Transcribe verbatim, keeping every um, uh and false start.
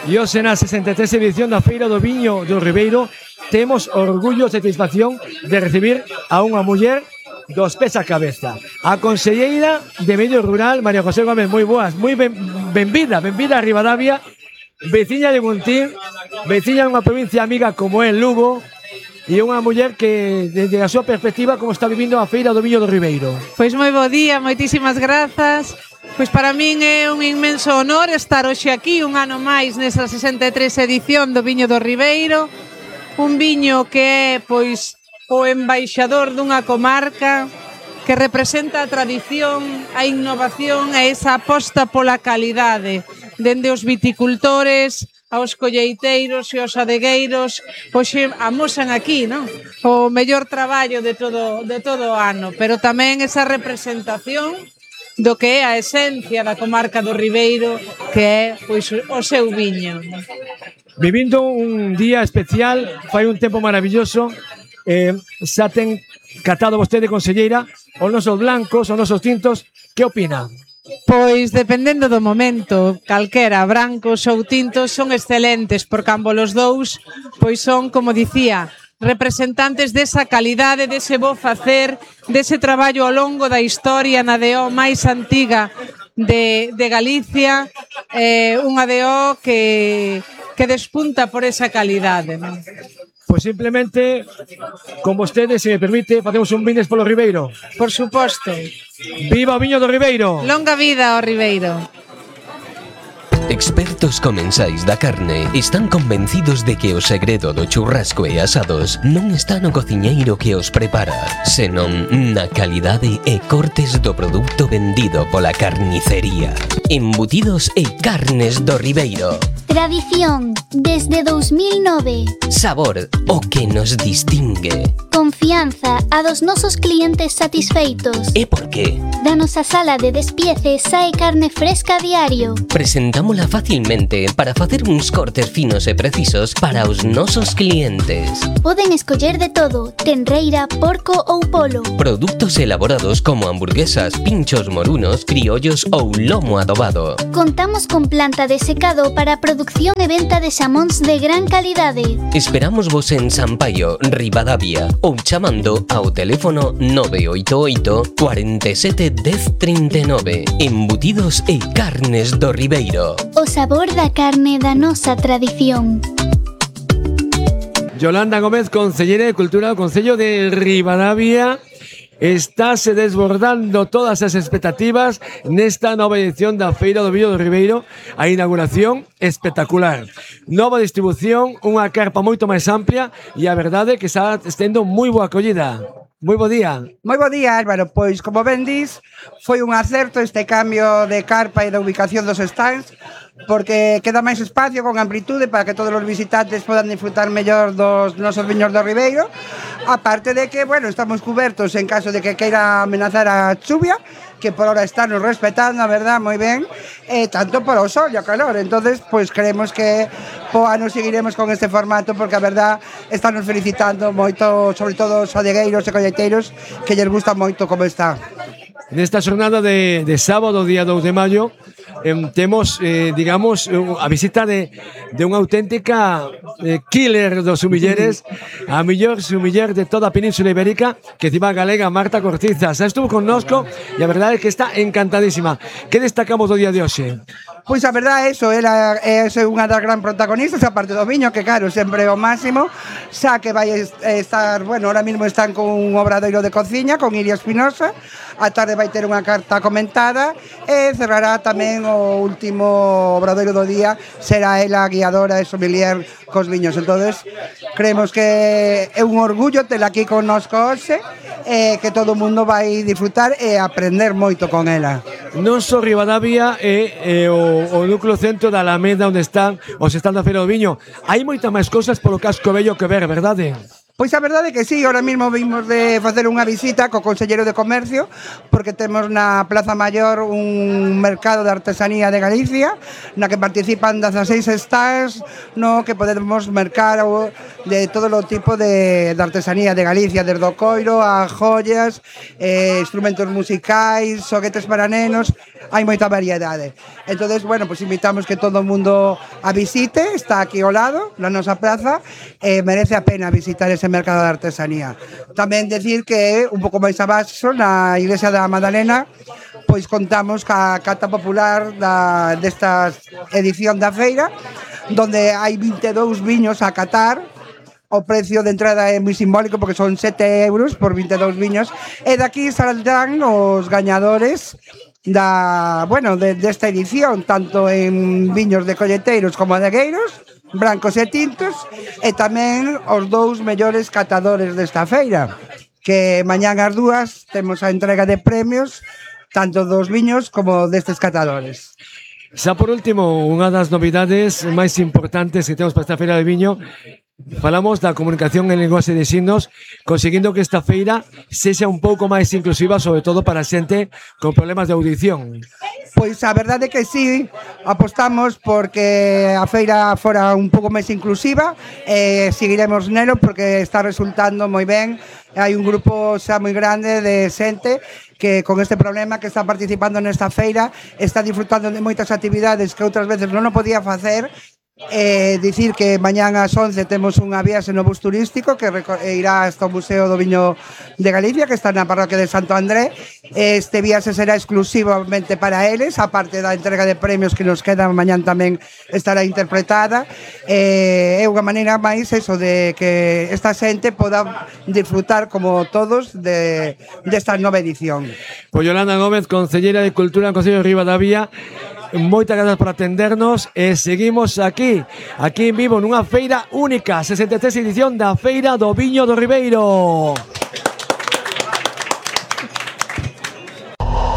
E hoxe na sesenta e tres edición da Feira do Viño do Ribeiro temos orgullo e satisfacción de recibir a unha muller dos pés a cabeza, a conselleira de Medio Rural, María José Gómez. Moi boas, moi ben, benvida, benvida a Ribadavia, veciña de Guntín, veciña de unha provincia amiga como é Lugo, e unha muller que, desde a súa perspectiva, como está vivindo a Feira do Viño do Ribeiro. Pois moi bo día, moitísimas grazas. Pois para min é un inmenso honor estar hoxe aquí un ano máis nesa sesenta e tres edición do Viño do Ribeiro, un viño que é pois o embaixador dunha comarca que representa a tradición, a innovación e esa aposta pola calidade, dende os viticultores aos colleiteiros e aos adegueiros. Hoxe amosan aquí, non? O mellor traballo de todo, de todo o ano, pero tamén esa representación do que é a esencia da comarca do Ribeiro, que é pois o seu viño. Vivindo un día especial, fai un tempo maravilloso, eh, xa ten catado vostede, conselleira, os nosos blancos, os nosos tintos, que opina? Pois dependendo do momento, calquera, brancos ou tintos son excelentes, porque ambos os dous pois son, como dicía, representantes desa calidade, dese bo facer, dese traballo ao longo da historia na D O máis antiga de, de Galicia, eh, unha D O que, que despunta por esa calidade, non? Pois simplemente, con vostede, se me permite, facemos un vines polo Ribeiro. Por suposto. Viva o Viño do Ribeiro! Longa vida ao Ribeiro! Expertos comensais da carne están convencidos de que o segredo do churrasco e asados non está no cociñeiro que os prepara, senón na calidade e cortes do produto vendido pola carnicería. Embutidos e carnes do Ribeiro. Tradición, desde dos mil nove. Sabor, o que nos distingue. Confianza, a dos nosos clientes satisfeitos. E por qué? Da nosa sala de despiece sae carne fresca a diario. Presentámola facilmente para facer uns cortes finos e precisos para os nosos clientes. Poden escoller de todo, tenreira, porco ou polo. Produtos elaborados como hamburguesas, pinchos morunos, criollos ou lomo adobado. Contamos con planta de secado para producción e venta de xamóns de gran calidade. Esperamos vos en Sampaio, Ribadavia, ou chamando ao teléfono nove oito oito, cuarenta e sete, dez, trinta e nove. Embutidos e carnes do Ribeiro. O sabor da carne da nosa tradición. Yolanda Gómez, conselleira de Cultura do Concello de Ribadavia. Estáse desbordando todas as expectativas nesta nova edición da Feira do Viño do Ribeiro. A inauguración espectacular, nova distribución, unha carpa moito máis amplia e a verdade é que está tendo moi boa acollida. Moi bo día. Moi bo día, Álvaro. Pois, como ben dis, foi un acerto este cambio de carpa e da ubicación dos stands, porque queda máis espacio con amplitude para que todos os visitantes podan disfrutar mellor dos nosos viños do Ribeiro. Aparte de que, bueno, estamos cubertos en caso de que queira amenazar a chuvia, que por ahora están nos respetando, a verdad, moi ben, eh, tanto por o sol e o calor. Entonces, pues creemos que po ano seguiremos con este formato, porque a verdad están nos felicitando moito, sobre todo os adegueiros e colleiteiros, que lles gusta moito como está. Nesta xornada de, de sábado, día dous de maio, eh, temos, eh, digamos, a visita de, de unha auténtica eh, killer dos sumilleres, a mellor sumiller de toda a Península Ibérica, que encima galega, Marta Cortiza. Xa estuvo connosco e a verdade é que está encantadísima. Que destacamos do día de hoxe? Pois a verdade é iso, ela é unha das gran protagonistas, a parte do viño, que claro, sempre é o máximo, xa que vai estar, bueno, ahora mismo están con un obradoiro de cociña, con Iria Espinosa, a tarde vai ter unha carta comentada e cerrará tamén o último obradoiro do día, será ela a guiadora e sommelier cos viños. Entonces, creemos que é un orgullo tela aquí connosco hoxe, e que todo o mundo vai disfrutar e aprender moito con ela. Non só Ribadavia é, é o, o núcleo centro da Alameda onde están os stands da Feira do Viño. Hai moitas máis cousas polo casco vello que ver, verdade? Pois a verdade é que sí, ahora mesmo vimos de facer unha visita co Conselleiro de Comercio porque temos na Plaza Maior un mercado de artesanía de Galicia na que participan dezaseis stands no que podemos mercar de todo o tipo de, de artesanía de Galicia, desde o coiro a joyas, eh, instrumentos musicais, xoguetes para nenos, hai moita variedade. Entonces, bueno, pues invitamos que todo o mundo a visite, está aquí ao lado, na nosa plaza, e eh, merece a pena visitar ese mercado de artesanía. Tamén decir que un pouco máis abaixo na Iglesia da Madalena pois contamos ca cata popular da, desta edición da feira donde hai vinte e dous viños a catar. O precio de entrada é moi simbólico porque son sete euros por vinte e dous viños e daqui saldrán os gañadores da, bueno, de, desta edición, tanto en viños de colleteiros como de agueiros, brancos e tintos, e tamén os dous mellores catadores desta feira, que mañán ás dúas temos a entrega de premios tanto dos viños como destes catadores. Xa por último, unha das novidades máis importantes que temos para esta feira de viño, falamos da comunicación en linguaxe de signos, conseguindo que esta feira sexa un pouco máis inclusiva, sobre todo para a xente con problemas de audición. Pois a verdade é que sí, apostamos porque a feira fora un pouco máis inclusiva e seguiremos nelo porque está resultando moi ben. Hai un grupo xa moi grande de xente que con este problema que está participando nesta feira está disfrutando de moitas actividades que outras veces non o podía facer. Eh, dicir que mañán ás once temos unha viaxe no bus turístico que irá hasta o Museo do Viño de Galicia, que está na parroquia de Santo André. Este viaxe será exclusivamente para eles, a parte da entrega de premios que nos quedan mañán tamén estará interpretada. Eh, é unha maneira máis eso de que esta xente poda disfrutar como todos de desta nova edición. Pois Yolanda Gómez, Concelleira de Cultura en Concello de Ribadavia, moitas grazas por atendernos e seguimos aquí, aquí en vivo nunha feira única, sesenta e tres edición da Feira do Viño do Ribeiro.